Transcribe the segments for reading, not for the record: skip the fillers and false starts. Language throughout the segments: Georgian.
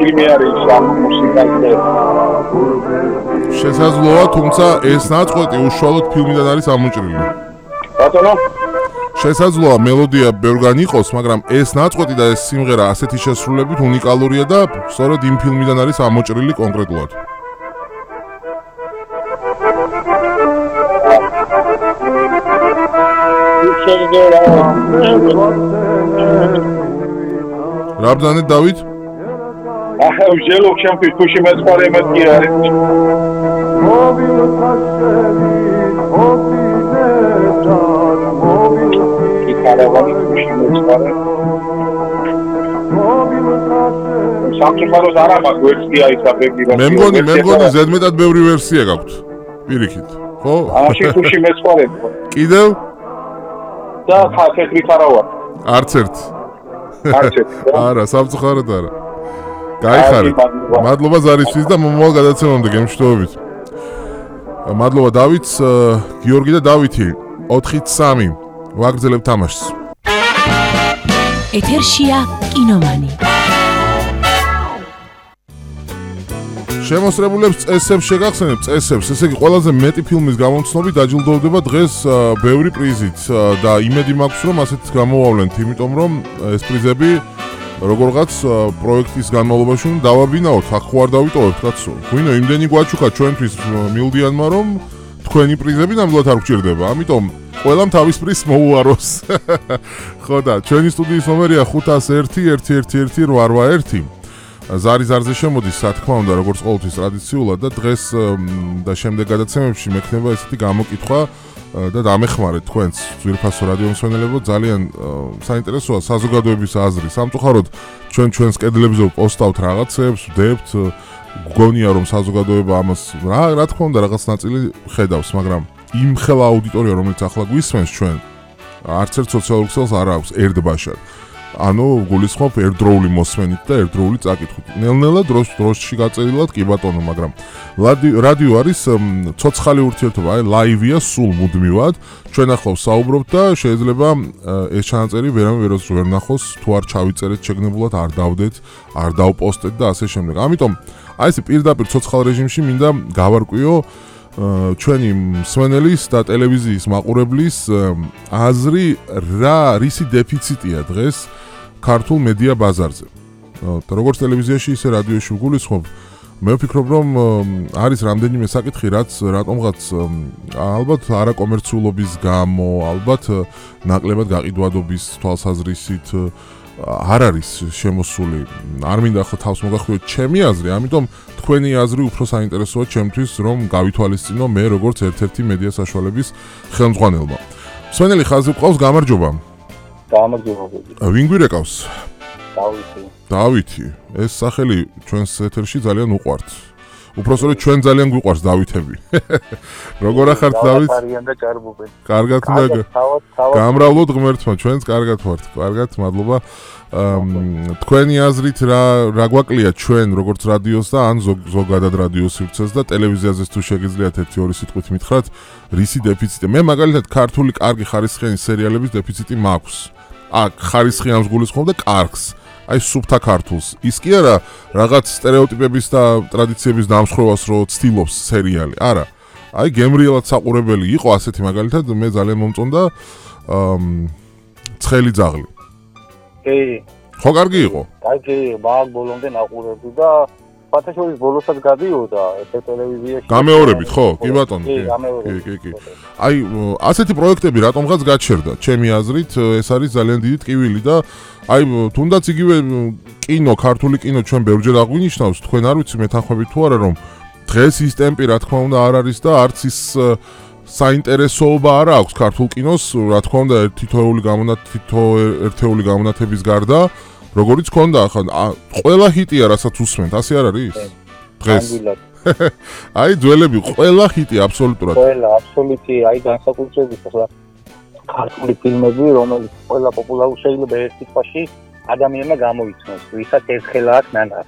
ფილმი არის ამ მუსიკაზე. შესაძლოა, თუმცა ეს ნაწყვეტი უშუალოდ ფილმიდან არის ამოჭრილი. ბატონო? შესაძლოა მელოდია ბევრგან იყოს, მაგრამ ეს ნაწყვეტი და ეს სიმღერა ასეთი შესრულებით უნიკალურია და სწორედ იმ ფილმიდან არის ამოჭრილი კონკრეტულად. რაბძანე დავით? ჟელო ჩემთვის თუში მეწყარე მეთქი არის. სამწუხაროდ არა მაქვს ვერსია ისაბები რომ მე მგონი ზედმეტად ბევრი ვერსია გაქვთ პირიქით ხო? ამაში თუში მეწყარე. კიდევ? და ხალხით არა ვარ. არც ერთ. არც ერთ. არა, სამწუხაროდ არა. გაიხარეთ. მადლობა ზარისთვის და მომავალ გადაცემამდე გემშვიდობით. მადლობა დავითს, გიორგი და დავითი 4-3 ვაგრძელებთ თამაშს. ეთერშია კინომანი. შემოსრებულებს წესებს შეგახსენებ წესებს, ესე იგი ყველაზე მეტი ფილმის გამომცნობით დაჯილდოვდება დღეს ბევრი პრიზით და იმედი მაქვს რომ ასეთ გამოვავლენთ, იმიტომ რომ ეს პრიზები როგორღაც პროექტის განმავლობაში დავაბინაოთ, აქ ხო არ დავიტოვებთ კაცო. გვინო იმდენი გვაჩუქა ჩვენთვის მილდიანმა რომ თქვენი პრიზები ნამდვილად არ გჭირდება, ამიტომ ყველამ თავის პრიზს მოუაროს. ხო და ჩვენი სტუდიის ნომერია 501-111-881. ზარზე შემოდის, რა თქმა უნდა, როგორც ყოველთვის ტრადიციულად და დღეს და შემდეგ გადაცემებში მექნება ესეთი გამოკითხვა და დამეხმარეთ თქვენს ძვირფასო რადიო მსმენელებო, ძალიან საინტერესოა საზოგადოების აზრი. სამწუხაროდ ჩვენს კედლებზე პოსტავთ რაღაცებს, ვდებთ, გგონია რომ საზოგადოება ამას რა თქმა უნდა რაღაც ნაწილი ხედავს, მაგრამ იმ ხელა აუდიტორია რომელიც ახლა გვისმენს ჩვენ არც ერთ სოციალურ ქსელს არ აქვს ერთბაშად. ანუ გულისხმობ ერთდროული მოსმენით და ერთდროული წაკითხვით. ნელ-ნელა დროში გაწერილად კი ბატონო, მაგრამ რადიო არის ცოცხალი ურთიერთობა, აი ლაივია სულ მუდმივად. ჩვენ ახლა ვსაუბრობთ და შეიძლება ეს ჩანაწერი ვერავინ ვერ ნახოს, თუ არ ჩავიწერეთ შეგნებულად, არ დავდეთ, არ დავპოსტეთ და ასე შემდეგ. ამიტომ აი ეს პირდაპირ ცოცხალ რეჟიმში მინდა გავარკვიო ჩვენი მსმენელის და ტელევიზიის მაყურებლის აზრი რისი დეფიციტია დღეს ქართულ მედია ბაზარზე. როგორც ტელევიზიაში, ისე რადიოში ვგულისხმობ, მე ვფიქრობ, რომ არის რამდენიმე საკითხი, რატომღაც ალბათ არაკომერციულობის გამო, ალბათ ნაკლებად გაყიდვადობის თვალსაზრისით არ არის შემოსული. არ მინდა ახლა თავს მოგახვიოთ ჩემი აზრი, ამიტომ თქვენი აზრი უფრო საინტერესოა ჩემთვის, რომ გავითვალისწინო მე როგორც ერთ-ერთი მედია საშუალების ხელმძღვანელმა. მსმენელი ხაზი ყავს, გამარჯობა. გამარჯობა. ვინ გვირეკავს? დავითი. დავითი. ეს სახელი ჩვენს ეთერში ძალიან უყვართ. უпроსტოდ ჩვენ ძალიან გვიყვარს დავითები. როგორ ახართ დავით? კარგად უნდა გამრავლოთ ღმერთმა, ჩვენც კარგად ვართ. კარგად, მადლობა. თქვენი აზრით რა გვაკლია ჩვენ როგორც რადიოს და ან ზოგადად რადიოს სივრცეს და ტელევიზიაზეც თუ შეგიძლიათ 1-2 სიტყვით მითხრათ, რისი დეფიციტი? მე მაგალითად ქართული კარგი ხარისხიანი სერიალების დეფიციტი მაქვს. აქ ხარისხიანს გულისხმობ და კარგს. აი სუფთა ქართულს. ის კი არა რაღაც სტერეოტიპების და ტრადიციების დამსხვრევას რო ცდილობს სერიალი. არა. აი გემრიელად საყურებელი იყო ასეთი მაგალითად მე ძალიან მომწონდა ცხელი ძაღლი. კი. ხო კარგი იყო? კარგი, მაგ ბოლომდე ნაყურებდი და ფათაშორის ბოლოსაც გადიოდა ეს ტელევიზიაში. გამეორებით ხო? კი ბატონო. კი, გამეორებით. კი. აი ასეთი პროექტები რატომღაც გაჩერდა. ჩემი აზრით ეს არის ძალიან დიდი ტკივილი და აი თუნდაც იგივე კინო, ქართული კინო ჩვენ ბევრჯერ აღვინიშნავს, თქვენ არ ვიცი მეთანხმებით თუ არა რომ დღეს ის ტემპი რა თქმა უნდა არ არის და არც ის საინტერესოობა არ აქვს ქართულ კინოს, რა თქმა უნდა ერთეული გამონათების გარდა, როგორიც ქონდა ახლა ყველა ჰიტია რასაც უსმენთ, ასე არ არის? დღეს. აი ძველები ყველა ჰიტი აბსოლუტურად. ყველა აბსოლუტი, აი განსაკუთრებით ახლა ქართული ფილმები, რომელიც ყველა პოპულარული შეიძლება ერთ სიტყვაში ადამიანმა გამოიცნოს, ვისაც ერთხელ აქვს ნანა.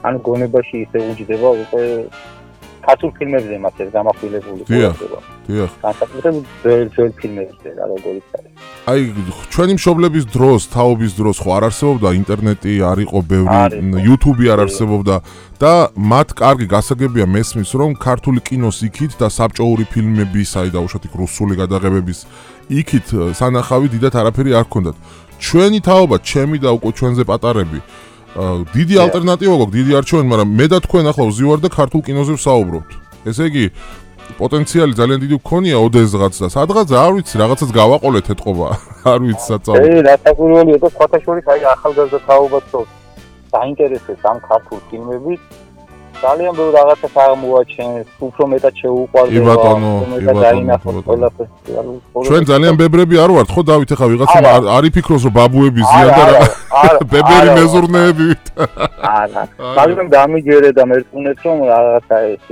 ანუ გონებაში ისე უჯდება უკვე ქართულ ფილმებზე მას ეს გამახვილებული ყურადღება. დიახ. განსაკუთრებით ძველ ფილმებზე რა როგორიც არის. აი ჩვენი მშობლების დროს, თაობის დროს ხო არ არსებობდა ინტერნეტი, არ იყო ბევრი, YouTube არ არსებობდა და მათ კარგი გასაგებია მესმის რომ ქართული კინოს იქით და საბჭოური ფილმების, აი დაუშვათ იქ რუსული გადაღებების იქით სანახავი დიდად არაფერი არ ჰქონდათ. ჩვენი თაობა, ჩემი და უკვე ჩვენზე პატარები დიდი ალტერნატივა გვაქვს, დიდი არჩევანი, მაგრამ მე და თქვენ ახლა ვზივარ და ქართულ კინოზე ვსაუბრობთ. ესე იგი პოტენციალი ძალიან დიდი გქონია ოდესღაც და სადღაც არ ვიცი, რაღაცას გავაყოლეთ ეთყობა. არ ვიცი საწავო. რა საკურველია და სხვათა შორის აი ახალგაზრდა თაობას რო დაინტერესებს ამ ქართულ ფილმებით. ძალიან ბევრ რაღაცას აღმოაჩენს, უფრო მეტად შეუყვარდება. კი ბატონო. ჩვენ ძალიან ბებრები არ ვართ, ხო დავით, ახლა ვიღაცამ არ იფიქროს რომ ბაბუები ზიან და ბებერი მეზურნეები. არა. მაგრამ დამიჯერე და მერწმუნეთ რომ რაღაცა ეს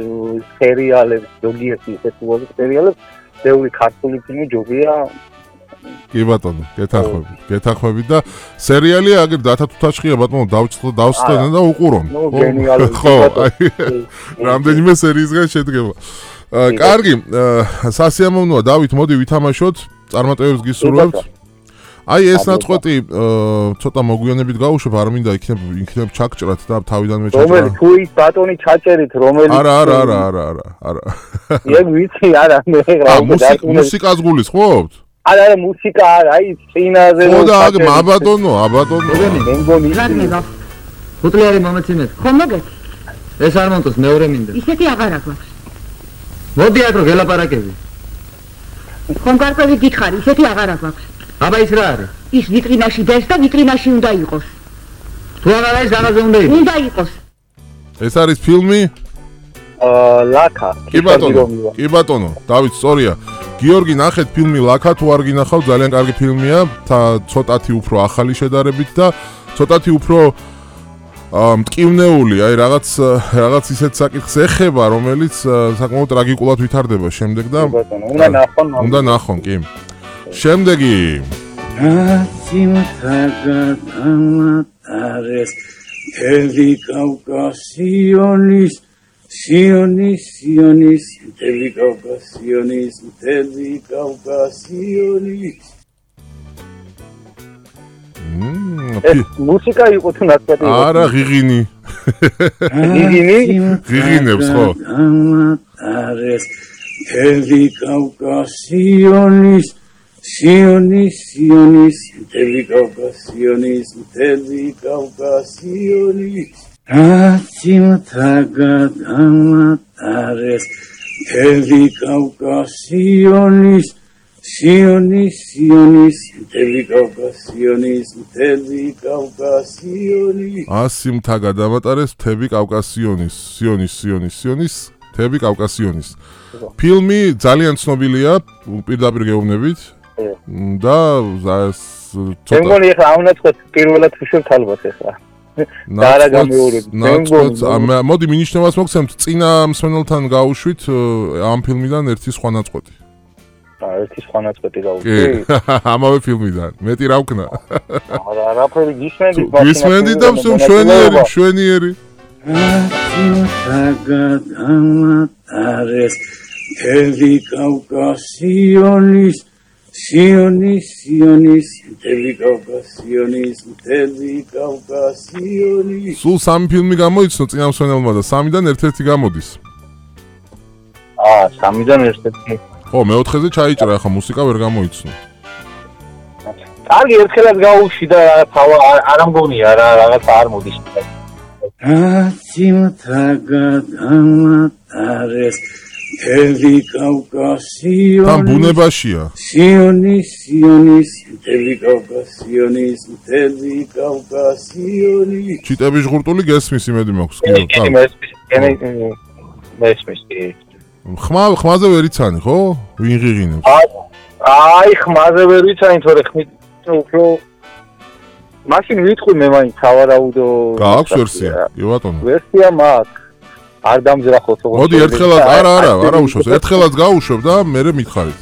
სერიალები, ზოგიერთი ესეთი სერიალები, ბევრი ქართული ფილმი ჯობია. კი ბატონო, გეთანხმებით და სერიალია აგერ დათა თუთაშხია ბატონო დავსწრენ და უყურონ. ხო, რამდენიმე სერიისგან შედგება. კარგი, სასიამოვნოა დავით, მოდი ვითამაშოთ, წარმატებებს გისურვებთ. აი ეს ნაწყვეტი ცოტა მოგვიანებით გავუშვებ, არ მინდა იქნებ ჩაგჭრათ და თავიდანვე ჩაჭრა. რომელი თუ ის ბატონი ჩაჭერით, რომელი არა. ეგ ვიცი, არა, მე მუსიკას გულისხმობთ? არა, მუსიკა არა, აი წინაზე ხო და აბატონო. მე მგონი ხუთლიანი მომეცინეთ. ხო მოგეთ? ეს არ მომწონს, მეორე მინდა. ისეთი აღარა გვაქვს. მოდი აქ რო გელაპარაკები. ხომ გარკვევით გითხარი, ისეთი აღარა გვაქვს. აბა ის რა არის? ის ვიტრინაში დეს და ვიტრინაში უნდა იყოს. თუ აღარა ის რაღაცა უნდა იყოს. უნდა იყოს. ეს არის ფილმი? ლაკა. კი ბატონო, დავით სწორია. გიორგი, ნახეთ ფილმი ლაკა, თუ არ გინახავ, ძალიან კარგი ფილმია, ცოტათი უფრო ახალი შედარებით და ცოტათი უფრო მტკივნეული, აი რაღაც ისეთ საკითხს ეხება, რომელიც საკმაოდ ტრაგიკულად ვითარდება შემდეგ და უნდა ნახონ, კი. შემდეგი თელი კავკასიონის Sionis, Teli Caucasionis. მუსიკა იყო თუ ნაწყვეტი? არა, ღიღინი. ღიღინებს ხო? Teli Caucasionis, Sionis, Teli Caucasionis. Atsimtagat amatares Teli Caucasionis, Sionis, Teli Caucasionis. Atsimtagat amatares Teli Caucasionis, Sionis, Teli Caucasionis. ფილმი ძალიან ცნობილია, პირდაპირ გეუბნებით. და მე მგონი ახლა ამ ნაწყვეტს პირველად ვუშვებთ ალბათ ახლა. მოდი მინიშნებას მოგცემთ წინა მსმენელთან გავუშვით ამ ფილმიდან ერთი სხვა ნაწყვეტი. ერთი სხვა ნაწყვეტი გავუშვით? ამავე ფილმიდან. მეტი რა ვქნა? არაფერი გისმენდით. გისმენდით და მშვენიერი. Teli Caucasionis, Sionis, Teli Caucasionis. სულ სამი ფილმი გამოიცნო წინამსვენელმა და სამიდან ერთ-ერთი გამოდის. სამიდან ერთ-ერთი. ხო, მეოთხეზე ჩაიჭრა, ახლა მუსიკა ვერ გამოიცნო. კარგი, ერთხელაც გაუში და არა მგონია რა, რაღაც არ მოდის. Atsimtagat amatares Teli Caucasionis. თან ბუნებაშია. Sionis, Teli Caucasionis. ჩიტების ჟღურტული გესმის იმედი მაქვს. მესმის. ხმაზე ვერ იცანი, ხო? ვინ ღიღინებს? აი, ხმაზე ვერ იცანი, თორე ხმით უფრო მაშინ ვიტყვი მე მაინც სავარაუდო. გააქვს ვერსია? კი ბატონო. ვერსია მაქვს. არ დამძრახოთ ოღონდ. მოდი ერთხელაც არა უშავს. ერთხელაც გავუშვებ და მერე მითხარით.